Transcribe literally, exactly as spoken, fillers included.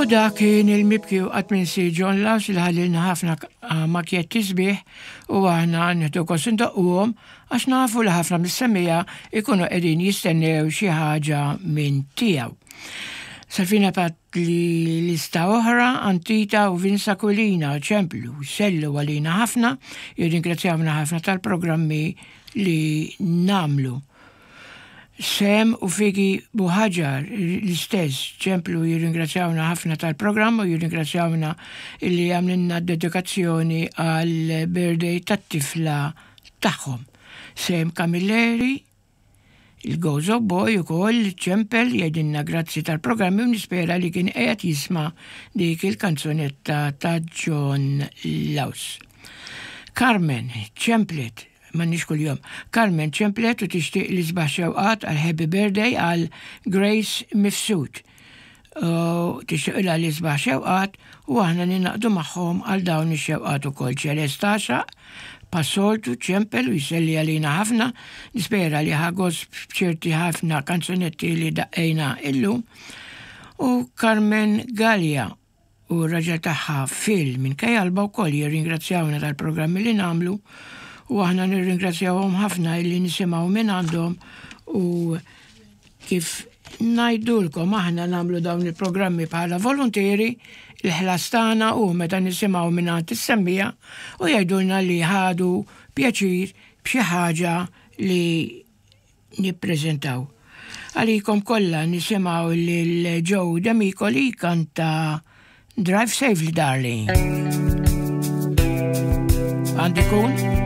U dak kien il-mibki u qatt minsi John Laus li ħallilna ħafna makjetti sbieħ u aħna nieħdu gost indoqquhom għax nafu li ħafna mis-semmiegħa ikunu qegħdin jistennew xi ħaġa minn tiegħu. Salvina bagħatli lista oħra, Antita u Vinsa Kulina, ċemplu, sellu għalina ħafna, jirringrazzjawna ħafna tal-programmi li nagħmlu. Sem u Figi Buħaġar l-istess ċemplu jirringrazzjawna ħafna tal-programm u jirringrazzjawna illi għamlilna dedikazzjoni għal birthday tat-tifla tagħhom. Sem Camilleri, il-Gozo Boy u koll ċempel jgħidilna grazzi tal-programmi u nispera li kien qiegħed jisma' dik il-kanzunetta ta' John Laus. Carmen ċemplet m'għandniex kuljum. Carmen ċemplet u tixtieq l-isbaħ xewqat għal Happy Birthday għal Grace Mifsud. Tixtieq l-isbaħ xewqat u aħna ningħaqdu magħhom għal dawn ix-xewqat ukoll. Ċelesta bħas-soltu ċempel u jselli għalina ħafna, nispera li ħa gost b'ċerti ħafna kanzunetti li daqqejna illum. U Carmen Gallia u r-raġel tagħha Phil minn Kajalba wkoll jirringrazzjawna tal-programmi li nagħmlu u aħna nirringrazzjawhom ħafna illi nisimgħu minn għandhom u kif ngħidulkom aħna nagħmlu dawn il-programmi bħala volontieri, il-ħlas tagħna u meta nisimgħu minn għand is-semmiegħa u jgħidulna li ħadu pjaċir b'xi ħaġa li nippreżentaw. Għalikom kollha nisimgħu lil Joe Demicoli kanta Drive Safely, Darling. Għandi kun?